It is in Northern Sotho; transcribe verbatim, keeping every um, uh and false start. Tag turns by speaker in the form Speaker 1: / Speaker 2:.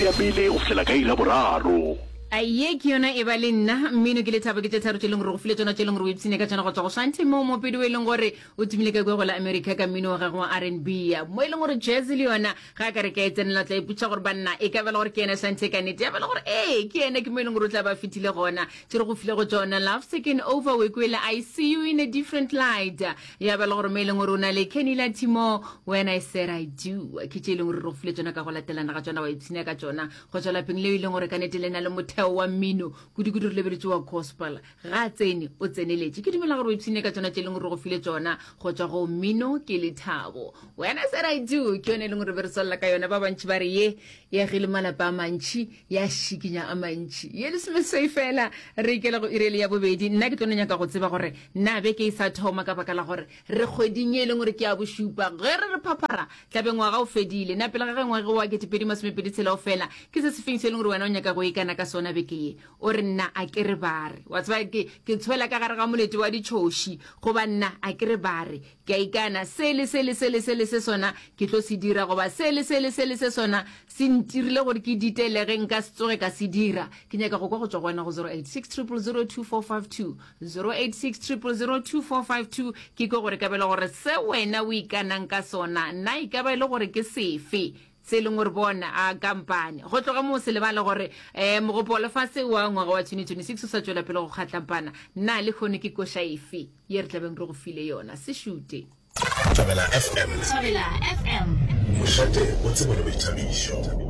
Speaker 1: iri ya pele go fihlela ka iri ya boraro.
Speaker 2: A ye ke yona e ba le nna mmino ke lethabo ke tše tharo tše leng gore go file tšona tše leng gore o ipshine ka tšona go tswa go Shanti mo mopedi o e leng gore o tumile ka kua go la America ka mmino wa gagwe wa R and B mo e leng gore jazz le yona ga a ka re ka e tsenela tla ipotša gore banna e ka ba le gore ke yena Shanti ka nnete ya ba le gore ee ke yena ke mo e leng gore o tla ba fetile gona tše re go file go tšona Love's Taken Over we kwele I see you in a different light ya ba le gore mo e leng gore o na le Kenny Lattimore When I Said I Do ke tše e leng gore re go file tšona ka go latelana ga tšona wa ipshina ka tšona go tswa lapeng leo e leng gore ka nnete le na le motheo wa mmino kudu-kudu re lebeletše wa gospel ga a tsene o tseneletše ke dumela gore o ipshine ka tšona tše e leng gore re go file tšona go tswa go mmino ke lethabo When I Said I Do ke yone e leng gore be re tswalela ka yona ba bantši ba re ye e agile malapa a mantši ya šikinya a mantši ye lesomeswai fela re ikela go irele ya bobedi nna ke tlo no nyaka go tseba gore na beke e sa thoma ka baka la gore re kgweding ye e leng gore ke ya bošupa ge re re phaphara tlabe ngwaga o fedile na pele ga ge ngwaga wa ketepedi masomepedi tshela o fela ke se sefeng se e leng gore wena o nyaka go ikana ka sona beke ye o re nna a ke re bare wa tseba ke ke tshwela ka gare ga molete wa ditšhoši goba nna a ke re bare ke a ikana se le se le se le se le se sona ke tlo se dira goba se le se le se le se sona se ntirile gore ke ditelege nka se tsoge ka se dira ke nyaka go kwa go tswa go wena go zero eight six triple zero two four five two zero eight six triple zero two four five two ke kwe gore ka bela gore se wena o ikanang ka sona na e ka ba e le gore ke sefe se e leng gore bona a kampane go tloga moo se lebale gore um mogopo wa lefase wa ngwaga wa twenty twenty six o sa tšwela pele go kgatlampana na le kgone ke koša efe ye re tlabeng re go file yona se šute.
Speaker 3: Thobela F M.
Speaker 4: Thobela F M.
Speaker 3: Mošate o tsebo le boithabišo.